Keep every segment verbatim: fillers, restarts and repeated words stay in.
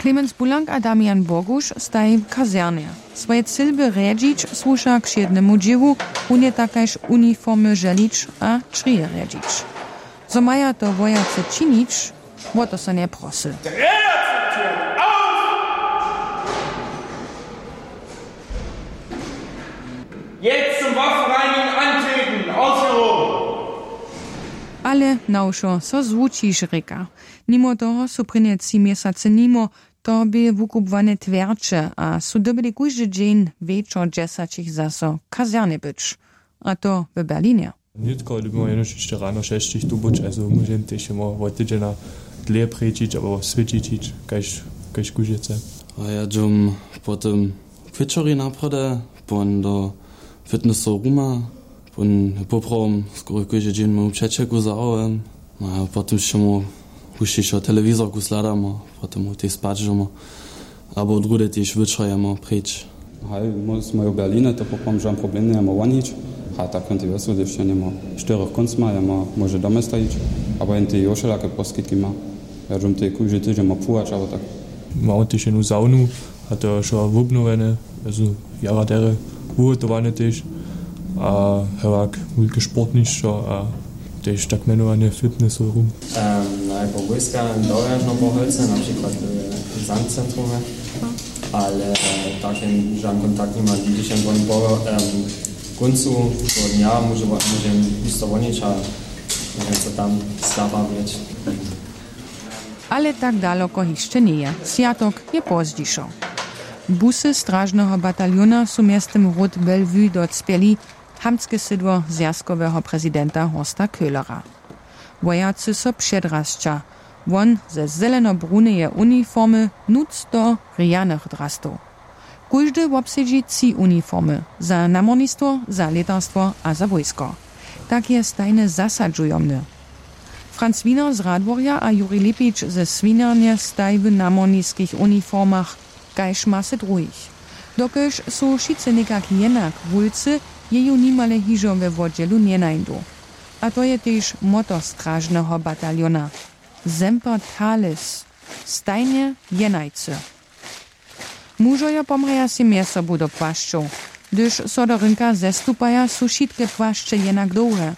Clemens Bulank a Damian Boguš staj w kazernje. Swoje cylby rjedźić słuša k wšědnemu dźěłu, runje tak kaž uniformy želić a črije rjedźić. Zo maja to wojacy činić, wo to so njeprosy. Jetzt zum Waffenreinigen antreten. Ausführung. Ale na wšo so zwučiš, rěka. Nimo toho su prěnje tři měsacy nimo, to bě wukubłane twjerće a su dyrbjeli kóždy dźeń wječor dźesaćich zaso w kazernje być. A to w Berlinje. Nětko dyrbimy jenož hišće rano šesćich tu być, also móžem tež jemo wot tydźena dlěje prěčić abo swětšić hić, kaž, kaž kóždy chce. A ja dźom potom k wječorji naprjedy, pon do fitnessow ruma, pon poprawom skoro kóždy dźeń móju přećelku zawołam. No a potom sćemu hušćišo telewizorku sledamo, potom tej spać dźemo, abo druhdy tež wječor jemo preč. Haj, mój, mój w Berlinje, to poprawom žan problem njejemo wonić. A tak hon tej wjesło, hdyž jen jemo w štyrjoch kóncmaj, jemo móže domje stajić, abo jen tej jo wšelake poskitki ma. Ja dźom tej kóždy tydźeń ma płuwać abo tak. Mamy tež jednu saunu, a to je wšo wobnowjene, also jara derje wuhotowane tež, a hewak wulke sportnišćo a tež tak mjenowane fitness room. Najpowěska dowjažno po holce, na přikład w zandcentrumy, ale tak jen žan kontakt nima, hdyž jen won po kóncu dnja móže, móže histo wonić a móže so tam zabawić. Ale tak daloko hišće njeje. Swjatok je pozdźišo. Busy stražneho bataljona su mjeztym hród Bellevue docpěli, hamtske sydło zwjazkoweho prezidenta Horsta Köhlera. Wojacy so předrasća. Won ze zelenobrunjeje uniformy, nutř do rjanych drastow. Kóždy wobsedźi tři uniformy, za namornistwo, za lětarstwo a za wójsko. Tak je stajnje zasadźujomny. Franz Wiener z Radworja a Juri Lipić ze Swinjarnje staj w namorniskich uniformach, kaž masy druhich. Dokelž su wšitcy někak jenak wulcy, je ju nimale hižo we wotdźělu njenajdu. A to je tež motto stražneho bataljona: Semper Tales, stajnje jenajcy. Mužojo pomrjaja sej mjez sobu do płašćow. Hdyž so do rynka zestupaja, su wšitke płašće jenak dołhe.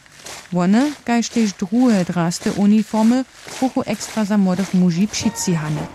Wone, kaž tež druhe draste uniformy, buchu ekstra za młodych muži přitřihane.